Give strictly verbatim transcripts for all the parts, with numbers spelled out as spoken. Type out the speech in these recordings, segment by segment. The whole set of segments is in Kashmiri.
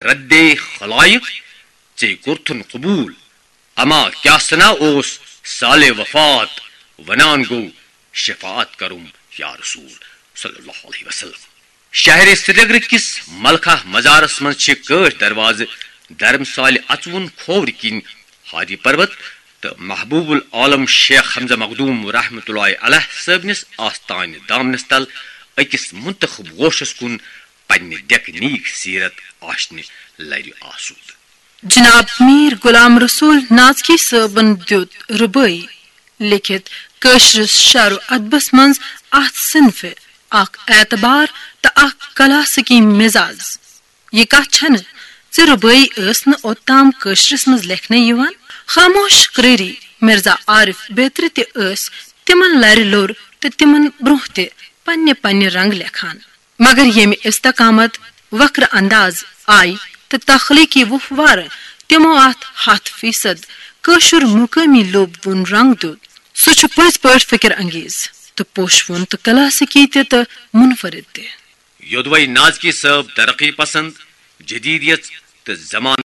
رد خلائق، ژے کوٚرتھُن قبول، اما کیٛاہ سنا اوس سالے وفات، ونان گوٚو شفاعت کرُم یا رسول صلی اللہ علیہ وسلم۔ شہر سرینگر کِس ملخہ مزارس منٛز چھِ کٲٹھۍ دروازٕ، دھرمسالہِ اژوُن کھوورِ کِنۍ ہاری پروت، تہٕ محبوب العالم شیخ حمزہ مخدوم رحمتہ اللہ علیہ صٲبنِس آستانہِ دامنس تل أکِس منتخب گوشس کُن پننہِ ڈیکہٕ نیک سیرت آشنہِ لرِ آسود۔ جناب میر غلام رسول نازکی صٲبن دیُت ربٲعی لیکھِتھ کٲشرِس شعر و ادبس منٛز اتھ صنفہِ اکھ اعتبار تہٕ اکھ کلاسیکی مزاج۔ یہِ کتھ چھنہٕ زِ ربٲعی ٲس نہٕ اوٚتام کٲشرِس منٛز لیکھنہٕ یِوان۔ خاموش قرٲری مرزا عارف بیترِ تہِ ٲسۍ تِمن لرِ لوٚر تہٕ تِمن برونٛہہ تہِ پننہِ پننہِ رنگ لیکھان۔ مگر ییٚمہِ استقامت وکرٕ انداز آیہِ تہٕ تخلیقی وُپھ وارٕ تِمو اتھ ہتھ فیصد کٲشُر مقٲمی لوٚب وُن رنگ دیُت، سُہ چھُ پٔزۍ پٲٹھۍ فکر انگیز تہٕ پوشوُن تہٕ کلاسیکی تہِ تہٕ منفرد تہِ۔ یوٚدوے نازکی صٲب ترقی پسند، جدیدیت تہٕ زمانہٕ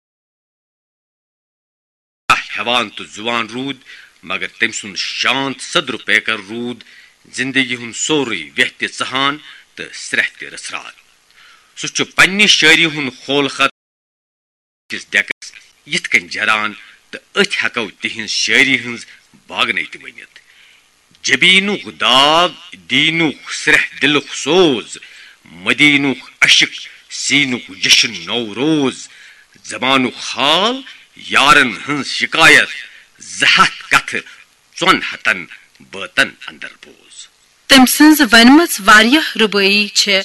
ہیوان تہٕ زُوان روٗد، مگر تٔمۍ سُنٛد شانت صدر پیکر روٗد زندگی ہُنٛد سورُے ویہ تہِ ژہان تہٕ سرٛیہ تہِ رژھران۔ سُہ چھُ پننہِ شٲعری ہُنٛد خول خط کِس ڈیکس یِتھ کٔنۍ جران تہٕ أتھۍ ہٮ۪کو تِہنٛز شٲعری ہٕنٛز باغنے تہِ ؤنِتھ۔ جبینُک داغ، دینُک سرٛیہ دِلُک سوز، مدینُک عشق، سینُک جشن نوروز، زمانُک حال، یارن ہٕنٛز شکایت، زٕ ہتھ کتھٕ، ژۄن ہتن بٲتن اندر بوز۔ تٔمۍ سٕنٛز ونمٕژ واریاہ ربٲعی چھےٚ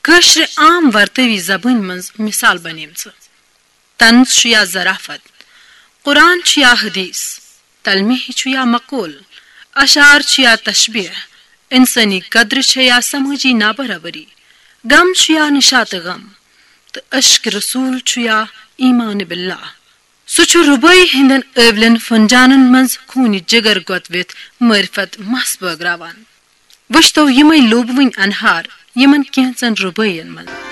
کٲشرِ عام ورتٲوی زبٲنۍ منٛز مثال بنیمژٕ۔ طنز چھُ یا ظرافت، قرآن چھُ یا حدیث، تلمیح چھُ یا مقول، اشعار چھُ یا تشبیہ، انسٲنی قدر چھےٚ یا سمٲجی نابرابری، غم چھُ یا نشاط غم، تہٕ عشق رسول چھُ یا ایمان باللہ۔ سُہ چھُ ربٲعی ہٕنٛدٮ۪ن ٲولٮ۪ن فنجانن منٛز خوٗنہِ جگر گۄتوِتھ معرفت مس بٲگراوان۔ وٕچھتو یِمے لوٗبوٕنۍ انہار یِمن کینٛژن ربٲعین منٛز۔